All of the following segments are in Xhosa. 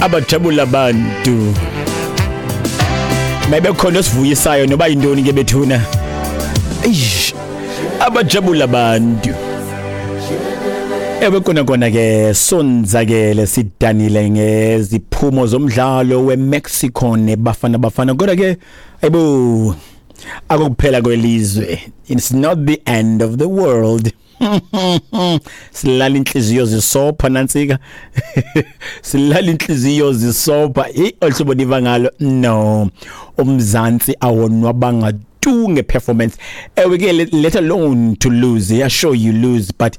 Abajabula abantu. Mabekhona osivuyisayo noba yintoni ke bethuna. Eish, abajabula abantu. Ewe, kona kona ke sonzakele, sidanile ngeziphumo zomdlalo weMexico neBafana Bafana, kodwa ke ayibo, akukuphela kwelizwe. It's not the end of the world. Silala inhliziyo zisopha nantsika, silala inhliziyo zisopha ohlobo niva ngalo. No, uMzansi awonwabanga tu ngeperformance. Ewe ke, let alone to lose. Yeah, sure, you lose, but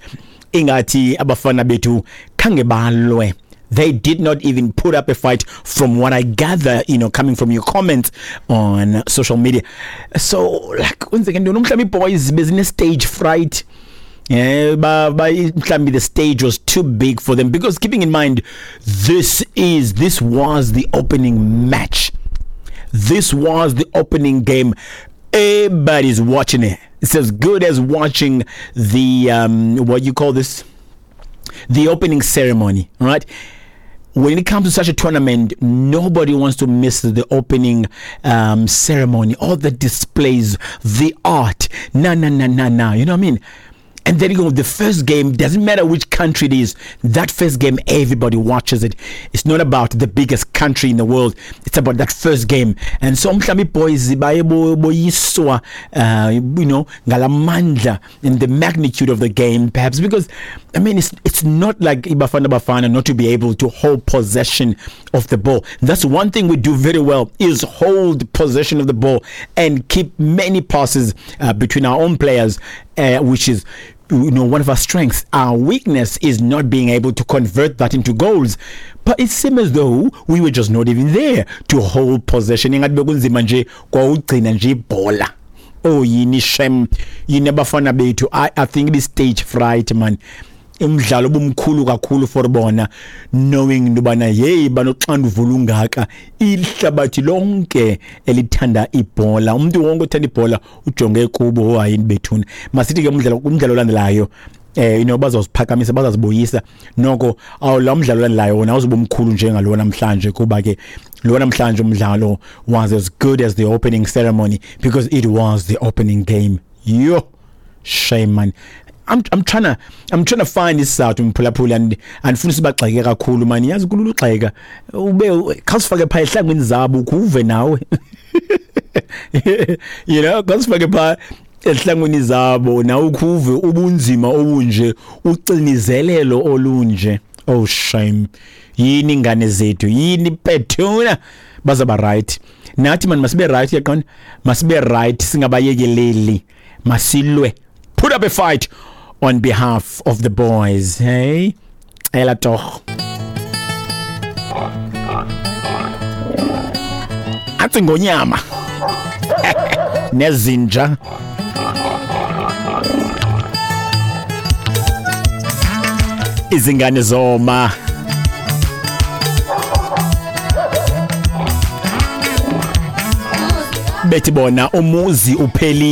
ingathi abafana bethu khange balwe. They did not even put up a fight, from what I gather, coming from your comments on social media. So like, kwenzeke ntoni? Mhlawumbi boys bezine stage fright. Yeah, ba mhlawumbi the stage was too big for them, because keeping in mind this was the opening match. This was the opening game. Everybody's watching it. It's as good as watching the what you call this, the opening ceremony, right? When it comes to such a tournament, nobody wants to miss the opening ceremony, all the displays, the art. Na na na na na. You know what I mean? And then you go, the first game, doesn't matter which country it is, that first game, everybody watches it. It's not about the biggest country in the world. It's about that first game. And so mhlawumbi boys baye boyiswa ngalamandla and the magnitude of the game, perhaps, because I mean, it's not like iBafana Bafana not to be able to hold possession of the ball. That's one thing we do very well, is hold possession of the ball and keep many passes between our own players, which is one of our strengths. Our weakness is not being able to convert that into goals. But it seems as though we were just not even there to hold possession. Ingathi bekunzima nje kwawugcina nje ibhola. Oh, yini shem, yini abafana bethu. I think this stage fright, man. Umdlalo obumkhulu kakhulu for bona, knowing into bana hey, banoxanduva olungaka, ihlabathi lonke elithanda ibhola, umuntu wonke othanda ibhola ujonge kubo. Hayini bethuna, masithi ke umdlalo olandelayo bazoziphakamisa, bazazibuyisa noko. Awu, lo mdlalo olandelayo wona awuzoba omkhulu njengalo namhlanje, kuba ke lo namhlanje umdlalo was as good as the opening ceremony because it was the opening game. Yo, shame, man. I'm trying to find isizathu, mphulaphula, and andifuna sibagxeke kakhulu, man. Yazi kulula ugxeka, ube khawusifake pha ehlangweni zabo ukuve nawe, khawusifake pha ehlangweni zabo nawe ukhuve ubunzima obunje, ucinizelelo olunje. Oh shame, yini ingane zethu, yini bethuna. Bazaba right nathi, man. Masibe right, yaqona, masibe right, singabayekeleli, masilwe, put up a fight on behalf of the boys. Hey, ela toch athi ngonyama nezinja. Izingane zoma. Bethi bona umuzi uphelile.